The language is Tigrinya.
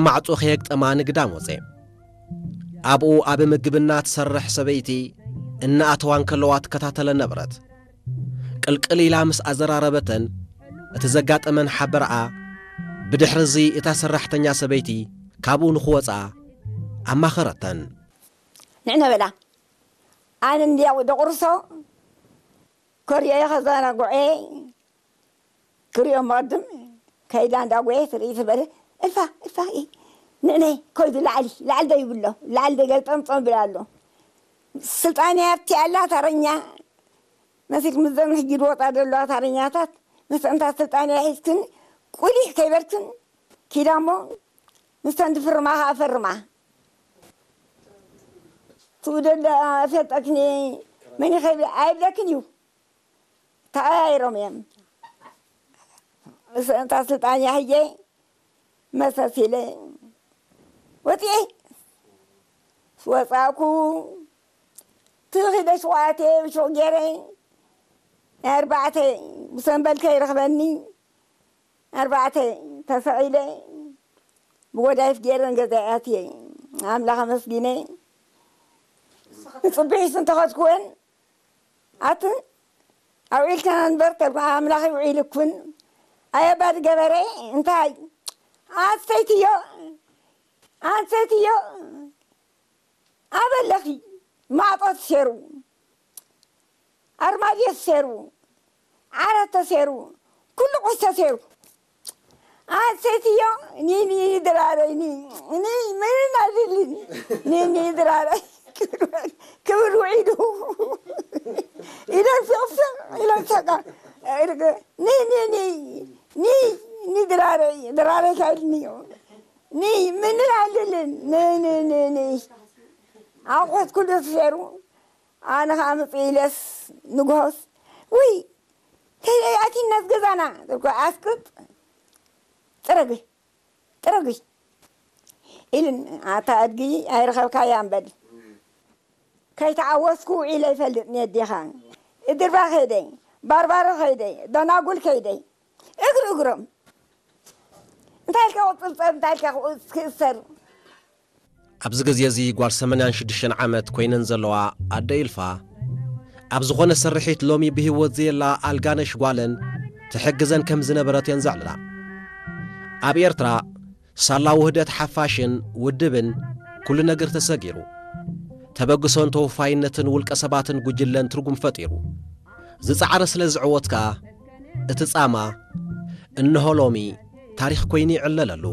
ማዕጾ ከየግጠማ ንግዳም ወጸ። ኣብኡ ኣብ ምግብና ትሰርሕ ሰበይቲ እናኣተዋ እንከለዋ ትከታተለ ነበረት። ቅልቅል ኢላ ምስ ኣዘራረበተን እቲ ዘጋጠመን ሓበረኣ፣ ብድሕሪ እዚ እታ ሰራሕተኛ ሰበይቲ ካብኡ ንኽወጻ ኣማኸረተን። ንዕነ በላ፣ ኣነ እንድያ ደቑርሶ ከርእዮ እየ፣ ከዘናግዖ እየ። ክርእዮ መቕድም ከይዳ እንዳጎየ ትርኢ ትበለ። እልፋ እልፋ እየ። ንዕነ ከይዱ ላዕሊ ላዕሊ ዶ ይብሎ፣ ላዕሊ ዶ ገልጠምጠም ይብል ኣሎ። ስልጣን ያብቲ ኣላ ታረኛ መሲል ምዘን ሕጂ ዝወጣ ዘለዋ ታረኛታት፣ ምስ እንታ ስልጣን ሒዝክን ቁሊሕ ከይበልክን ኪዳ እሞ፣ ምስ ተን ዝፍርማ ኸዓ ፈርማ። ትኡ ደለ ኣፈልጠክኒ መን ይኸይብ ኣይብለክን እዩ። ተቐያይሮም እዮም። ምስ እንታ ስልጣን ያህየ መሰስ ኢለ ወፂኤ። ወፃእኩ። ትኺደ ሸውዓተ ብሹቕ ገይረ፣ ናይ ኣርባዕተ ብሰንበል ከይረኽበኒ፣ ኣርባዕተ ተሰቒለ፣ ብጎዳይፍ ገይረ ንገዛይ ኣትየ። ኣምላኽ ኣመስጊነ። ንፅቡሒስ እንተኸድኩወን፣ ኣትን ኣውዒልከና ንበር ተልኩ፣ ኣምላኽ ይውዒልኩን። ኣየባድ ገበረ እንታይ? ኣንሰይትዮ፣ ኣንሰይትዮ፣ ኣበለኺ ማዕጦ ተሴሩ፣ ኣርማድዮ ተሴሩ፣ ዓራት ተሴሩ፣ ኩሉ ቁስ ተሴሩ። ኣንሰይትዮ፣ ኒኒ ድራረይ፣ ኒ-፣ ኒ-፣ ምንም ኣይደልን። ኒኒ ድራረይ፣ ክብር ውዒሉ። ኢለን ስቕስቕ፣ ኢለን ሰቃ። ኒ-፣ ኒ-፣ ኒ-፣ ኒ-፣ ኒ ድራረይ፣ ድራረይ ካይልኒ። ኒ-፣ ምንም ኣይደልን። ኒ-፣ ኒ-፣ ኒ-፣ ኒ-፣ ኣቑሑት ኩሉ ተሴሩ። ኣነ ኸዓ ምጽእ ኢለስ ንግሆስ፣ ውይ፣ ከይደይ ኣቲናስ ገዛና፣ ትብሎ፣ ኣስቅጥ፣ ጥረጊ፣ ጥረጊ ኢልን፣ ኣታ ኣድጊ ኣይረኸብካያን በል። ከይተዓወስኩ ውዒለ ይፈልጥ ንየዲኻ። እድርባ ከይደይ፣ ባርባሮ ከይደይ፣ ደናጉል ከይደይ፣ እግሪ እግሮም። እንታይ ኢልካ ክጽብጸብ፣ እንታይ ኢልካ ክእስ-፣ ክእሰር? ኣብዚ ግዜ እዚ ጓል ሰማንያን ሽዱሽተን ዓመት ኮይነን ዘለዋ ኣደ ኢልፋ፣ ኣብ ዝኾነ ስርሒት ሎሚ ብህይወት ዘየላ ኣልጋነሽ ጓለን ትሕግዘን ከም ዝነበረት እየን ዘዕልላ። ኣብ ኤርትራ፣ ሳላ ውህደት ሓፋሽን ውድብን ኩሉ ነገር ተሰጊሩ። ተበግሶን ተወፋይነትን ውልቀ ሰባትን ጉጅለን ትርጉም ፈጢሩ። ዝጸዓረ ስለ ዝዕወት ከኣ፣ እቲ ጻማ፣ እንሆ ሎሚ፣ ታሪኽ ኮይኑ ይዕለለሉ።